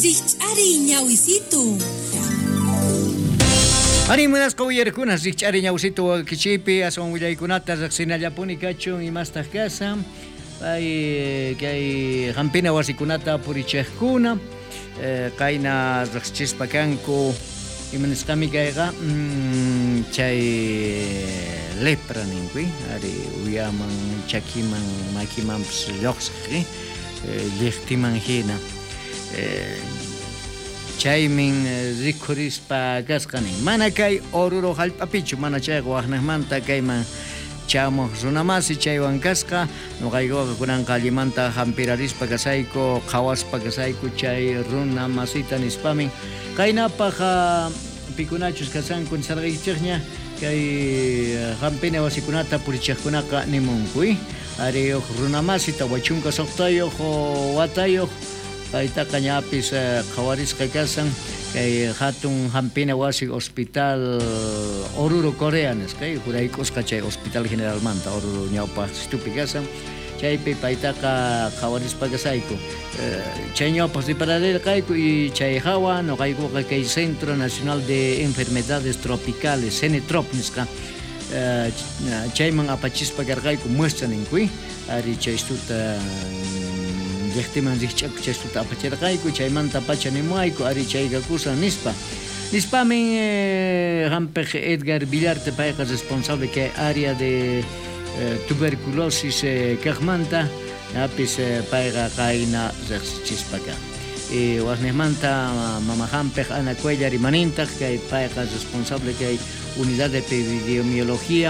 Rikch'ariy ñawisitu. Ari munasqa uyarikuna rikch'ari ñawsitu wakichiypi aswan willaykunata riqsinallapuni kachun imastaq kasan pay kay hampina wasikunata purichiqkuna qayna riqsichispa kanku imanisqami kayqa chay lepra ninku ari uyaman chakiman makimanpis lluqsiq lliqtiman hina chaymin rikhurispa kasqa nin mana kay Oruro hallp'apichu mana chayqa waqnaqmanta kayman chamuq runamasi chaywan kasqa nuqaykuqa kunanqa allimanta hampirarispa kasayku qhawaspa kasayku chay runamasita nispamin qaynapaq pikunachus kasanku nisarqaykichikña kay hampina wasikunata purichiqkunaqa nimunku ari huk runamasi 46 watayuq paytaqa ñapis qhawarisqa kasan kay hatun hampina wasi hospital Oruro Corea nisqa jurayk'usqa chay hospital generalmanta Oruro ñawpaq situpi kasan chaypi paytaqa qhawarispa kasayku chay ñawpaq ripararirqayku y chay hawa nuqaykuqa kay Centro Nacional de Enfermedades Tropicales CENETROP nisqa chayman apachispa karqayku muestra ninku ari chay istuta llaqtiman rikch'aku chay istuta apachirqayku chaymanta pacha nimuayku ari chaykakusan nispa nispamin hampiq Edgar Villarte payqa responsable kay área de tuberculosis kaqmanta apis payqa qayna riqsichispa kan waqniqmanta mama hampiq Ana Cuellar rimanintaq kay payqa responsable kay unidad de epidemiología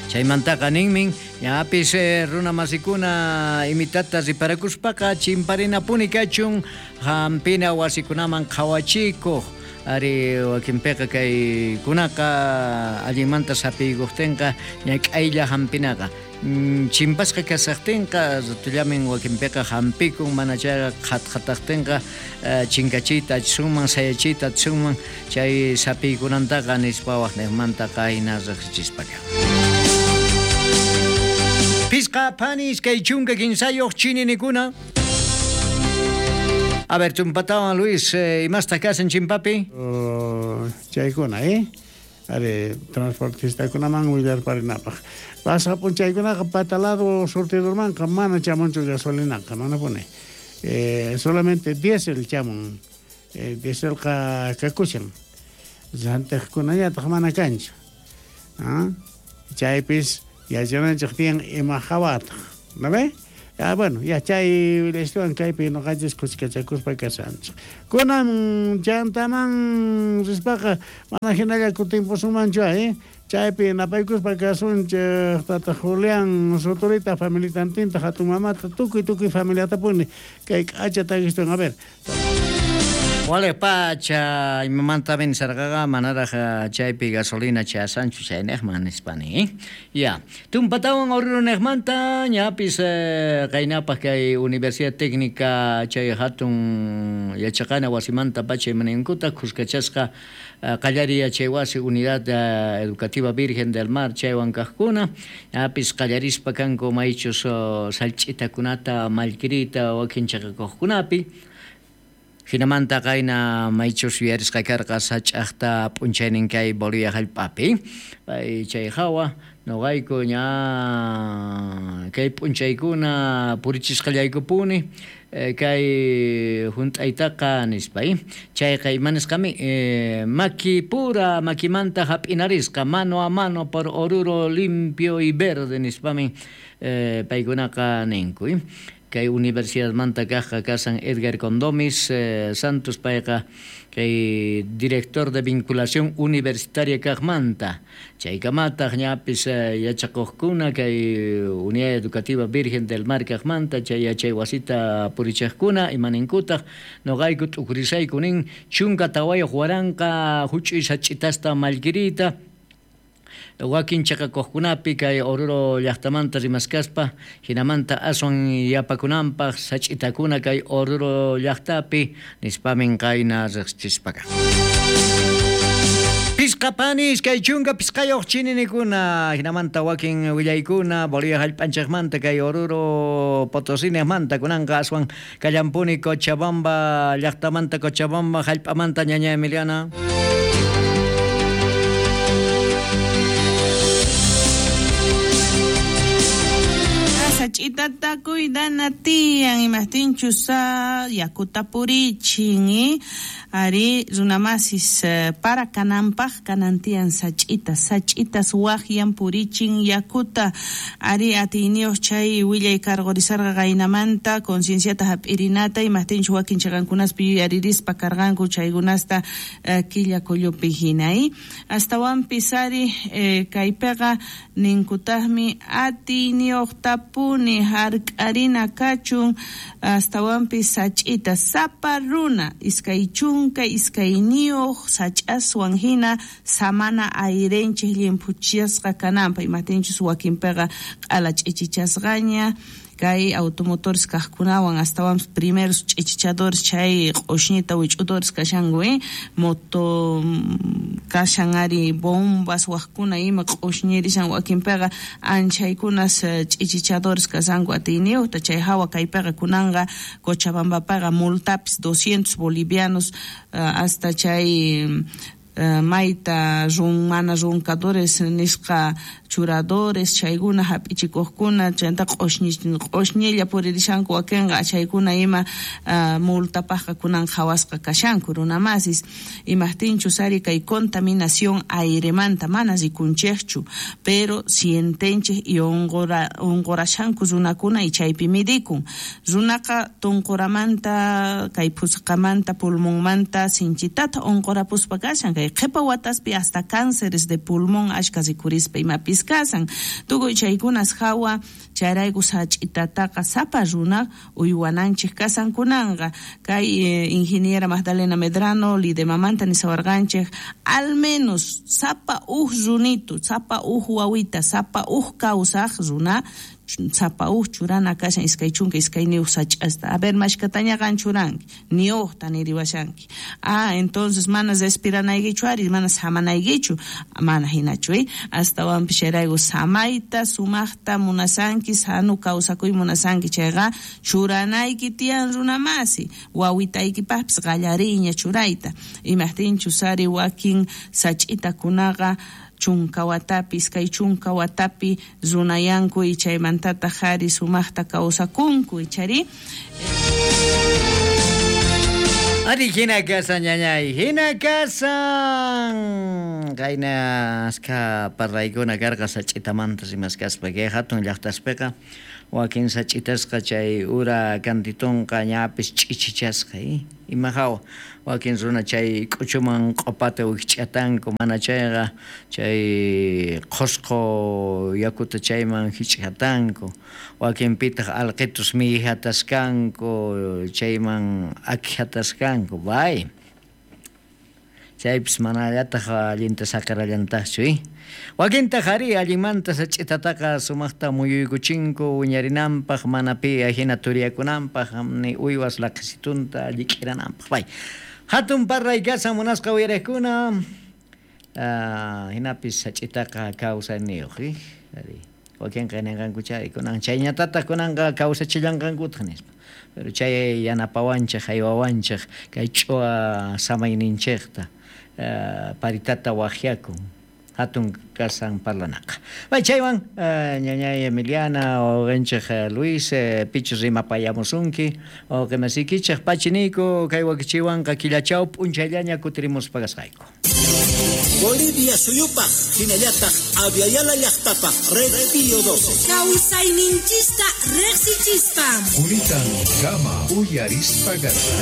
chaymantaqa ninmin ñapis runa masikuna imitata riparakuspaqa chimparinapuni kachun hampina wasikunaman qhawachikuq ari wakinpiqa kaykunaqa allinmanta sapiykuqtinqa ñak'aylla hampinaqa chimpasqa kasaqtinqa ratullamin wakinpiqa hampikun mana chayqa qhatqataqtinqa chinkachiyta atisunman sayachiyta atisunman chay sapiykunantaqa nispa waqniqmanta qayna riqsichispaqa. Pisqa phani 23 chininikuna. A ver, tumpatawan Luis, imastaq kasan chimpapi? Chaykuna, Ari, transportistakunaman willarparinapaq. Pasapun chaykunaqa patalado surtidormanqa mana chamunchu gasolinaqa, mana puni. Solamente diésel chamun. Dieselqa kakushan. Rantiqkunañataq mana kanchu. Chaypis yachananchik tiyan ima hawataq, ¿no ve? Bueno, ya chay willaystuwan kaypi nuqanchis kuskachakuspa kashanchik. Kunan chantaman rispaqa mana hinalla kutimpusunmanchu, Chaypi napaykuspa kasunchik tata Julián Sotorita familitantinta hatun mamata tukuy tukuy familiatapuni kay k'acha takistuwan, a ver. Wale pacha imamanta sarqaqa manaraq chaypi gasolina chasanchu chayniqman nispani. Ya, tumpatawan Oruruniqmanta ñapis qaynapaq kay Universidad Técnica chay hatun yachaqana wasimanta pacha imaninkuta kuskachasqa qallari yachay wasi Unidad Educativa Virgen del Mar chaywan kaqkuna ñapis qallarispa kanku maychus sallch'itakunata mallkirita wakin chaqakuqkunapi. Hinamanta qayna maychus yuyarisqa karqa sach'aqta p'unchaynin kay Bolivia hallp'api. Pay chay hawa nuqayku ña kay p'unchaykuna purichisqallaykupuni kay hunt'aytaqa nispa. Chayqa imanisqami maki pura makimanta hap'inarisqa mano a mano por Oruro limpio y verde nispami paykunaqa ninku. Kay universidadmanta kaqqa kasan Edgar Condomis Santos payqa kay director de vinculación universitaria kaqmanta chaykamataq ñapis yachakuqkuna kay Unidad Educativa Virgen del Mar kaqmanta chay yachay wasita purichiqkuna imaninkutaq nuqayku t'ukurisayku nin 14 waranqa huch'uy sach'itasta mallkirita wakin chaqakuqkunapi kay Oruro llaqtamanta rimaskaspa hinamanta aswan yapakunanpaq sach'itakuna kay Oruro llaqtapi nispamin qayna riqsichispaqa. Pisqapani 25 chininikuna hinamanta wakin willaykuna Bolivia hallp'anchikmanta kay Oruro Potosí-manta kunanqa aswan kallampuni Cochabamba llaqtamanta Cochabamba hallp'amanta ñaña Emiliana. Sach'itata cuidana tiyan imajtinchus yakuta purichin ari runamasis para kananpaj kanan tiyan sach'itas sach'itas waqyan purichin yakuta ari atiyniyuq chay willay karqurisarqa qaynamanta concienciata hap'irinata imajtinchus wakin chiqankunaspi yuyaririspa karqanku chaykunasta killa kullupi hina astawanpis ari kaypiqa ninkutaqmi atiyniyuqtapuni hark'arina kachun astawanpis sach'ita sapa runa 22 sach'aswan hina samana ayrenchik llimphuchasqa kananpaq imajtinchus wakinpiqa q'ala ch'ichichasqaña kay automotores kaqkunawan astawanpis primeros ch'ichichadores chay q'ushñita wich'udores kashanku moto kashan ari bombas waqkuna ima q'ushñirishan wakinpiqa anchaykunas ch'ichichadores kashanku atiyniyuqta chay hawa kaypiqa kunanqa Cochabambapiqa multapis 200 bolivianos hasta chay mayta mana roncadores nisqa churadores chaykuna hap'ichikuqkuna chayta q'ushñilla puririshanku wakinqa chaykuna ima multapaqqa kunan qhawasqa kashanku runamasis imajtinchus ari kay contaminación airemanta mana rikunchikchu pero sientenchik y unqurashanku runakuna y chaypi midikun runaqa tunquramanta kay phusqamanta pulmonmanta sinchitata unqurapuspa kashan kay qhipa wataspi hasta cánceres de pulmón ashka rikurispa imapis kasan tukuy chaykunas hawa chayrayku sach'itataqa sapa runa uywananchik kasan kunanqa kay ingeniera Magdalena Medrano Lidemamanta nisawarqanchik al menos sapa uj runitu sapa uj wawita sapa uj kawsaq runa sapa uj churana kashan 22 sach'asta a ver mashkataña qan churanki ni ujta niriwashanki entonces mana respiranaykichu ari mana samanaykichu mana hinachu astawanpis chayrayku samayta sumaqta munasanki sanu kawsakuy munasanki chayqa churanayki tiyan runamasi wawitaykipaqpis qallariyña churayta imajtinchus ari wakin sach'itakunaqa 10 watapi 20 watapi runayanku y chaymantataq ari sumaqta kawsakunku ichari. Ari hina kasan ñañay, hina kasan. Qayna aska parlaykuna karqa sach'itamanta rimaskaspa kay hatun llaqtaspiqa wakin sach'itasqa chay ura kantitunqa ñapis ch'ichichasqa ima hawa wakin runa chay k'uchuman q'upata wikch'atanku mana chayqa chay qhusqu yakuta chayman hich'atanku wakinpitaq alqitus mihataskanku chayman akhataskanku bay chaypis manallataq allinta saqirallantaqchu wakintaq ari allinmanta sach'itataqa sumaqta muyuykuchinku wiñarinanpaq mana pi ahina turiyakunanpaq ni uywas laqhisitunta llik'irananpaq bay hatun parray kasan munasqa uyariqkuna hinapis sach'itaqa kawsayniyuq ari wakinqa ninqanku chay kunan chayñatataq kunanqa kawsachillanqankutaq nispa pero chay yanapawanchik haywawanchik kay ch'uwa samayninchikta paritata waqyakun hatun kasan parlanaqa. Bay chaywan ñañay Emiliana wawqinchik Luis pichus rimapayamusunki wawqimasiykichik pachiniku kay wakichiwanqa killachaw p'unchayllaña kutirimuspa kasqayku. Bolivia suyupaq hinallataq Aviala llaqtapaq Red Pío 12. Kawsayninchista riqsichispa. Quritan kama uyarispa.